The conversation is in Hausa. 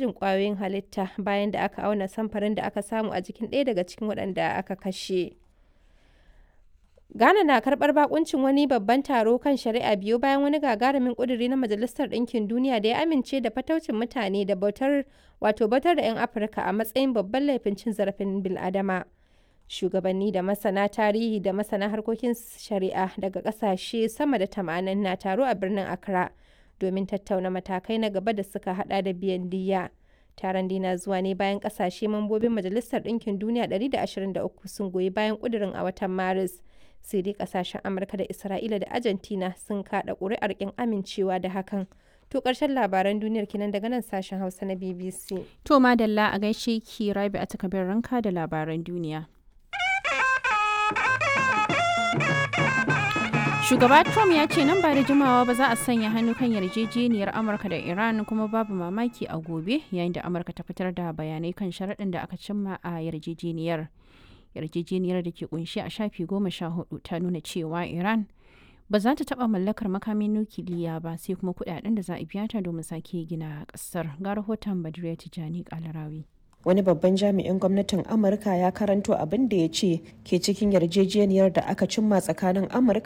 gwajin ƙwayoyin halitta bayan da aka auna samfarin da aka samu a jikin ɗaya daga cikin waɗanda aka kashe. Ghana na karɓar bakuncin wani babban taro kan shari'a biyo bayan wani gagarumin ƙuduri na Majalisar Ɗinkin Duniya da ya amince da fataucin mutane da bautar wato bautar da 'yan Afirka a matsayin babban laifin cin zarafin bil'adama. Shugabanni da masana tarihi da masana harkokin shari'a daga ƙasashe sama da 80 na taro a birnin Accra domin tattauna matakai na gaba da suka hada da biyan diyya. Taron dai na zuwa ne bayan ƙasashe mambobin Majalisar Ɗinkin Duniya 123 sun goyi bayan ƙudurin a watan Maris. Sai dai kasashen Amurka da Isra'ila da Argentina sun kada ƙuri'ar ƙin amincewa da hakan. To ƙarshen labaran duniyar kenan daga nan sashen Hausa na BBC. To madalla, a gaishe ki Rabi a takabir ranka da labaran duniya. Shugaba Trump ya ce nan ba da jimawa ba za a sanya hannu kan yarjejeniyar Amurka da Iran, kuma babu mamaki a gobe, yayin da Amurka ta fitar da bayanai kan sharaɗin da aka cimma a yarjejeniyar. Yarjejeniyar da ke kunshi a shafi 14 ta nuna cewa Iran ba za ta taba mallakar makamin nukiliya ba, sai kuma kudaden da za a biya ta domin sake gina kasar. Ga rahoton Badriya Tijani Kalarawi. Wani babban jami'in gwamnatin Amurka ya karanto abin da ya ce ke cikin yarjejeniyar da aka cimma tsakanin Amurka